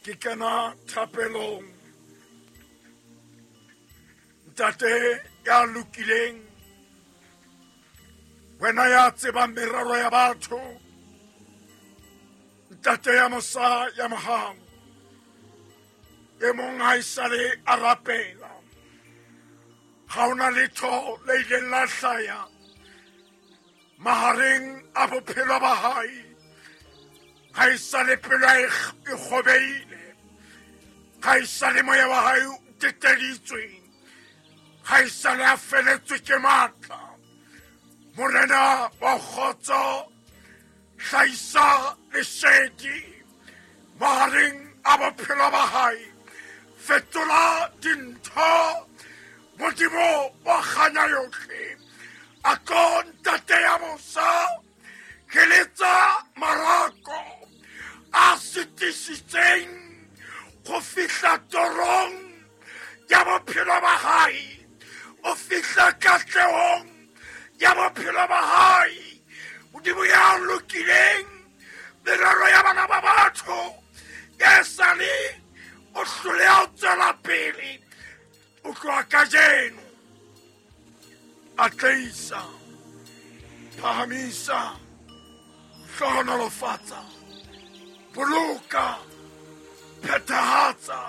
Ke kena thapelong. Ntate ya lokileng, wena ya tsebang merero ya batho, ntate ya mosa ya mohau, e mong ha esale a rapela, ga ona letho le ileng la hlaya mahareng a bophelo ba hae. Ga e sale pelo e kgobeile, ga e sale moya wa hae o teteditswe, ga e sale a feletswe ke matla. Morena wa kgotso, hlahisa lesedi mahareng a bophelo ba hae, fetola dintho. Modimo wa kganya yohle, a tlo ntate ya mosa, ke letsa marako a sitisitseng go fihla torong ya bophelo ba hae, o fihla katlehong ya bophelo ba hae. Modimo ya lokileng, merero ya bana ba batho e sale o hloleha ho tswela pele, o tloha kajeno atleisa, phahamisa, hlohonolofatsa, boloka, phethahatsa,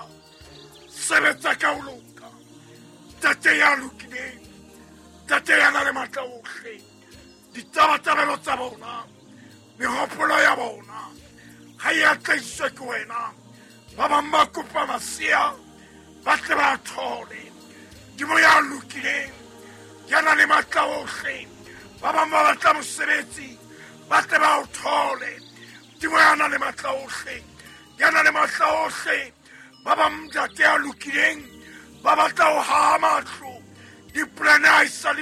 sebetsa ka ho loka. Ntate ya lokileng, ntate ya nang le matla ohle, ditabatabelo tsa bona, mehopolo ya bona ga e atleiswe ke wena. Ba bang ba kopa masea ba tle ba thole. Modimo ya lokileng, ya nang le matla ohle, ba bang ba batla mosebetsi ba tle ba o thole. Modimo ya nang le matla ohle, ya nang le matla ohle, ba bang ntate ya lokileng ba batla ho haha matlo, dipolane ha e sale.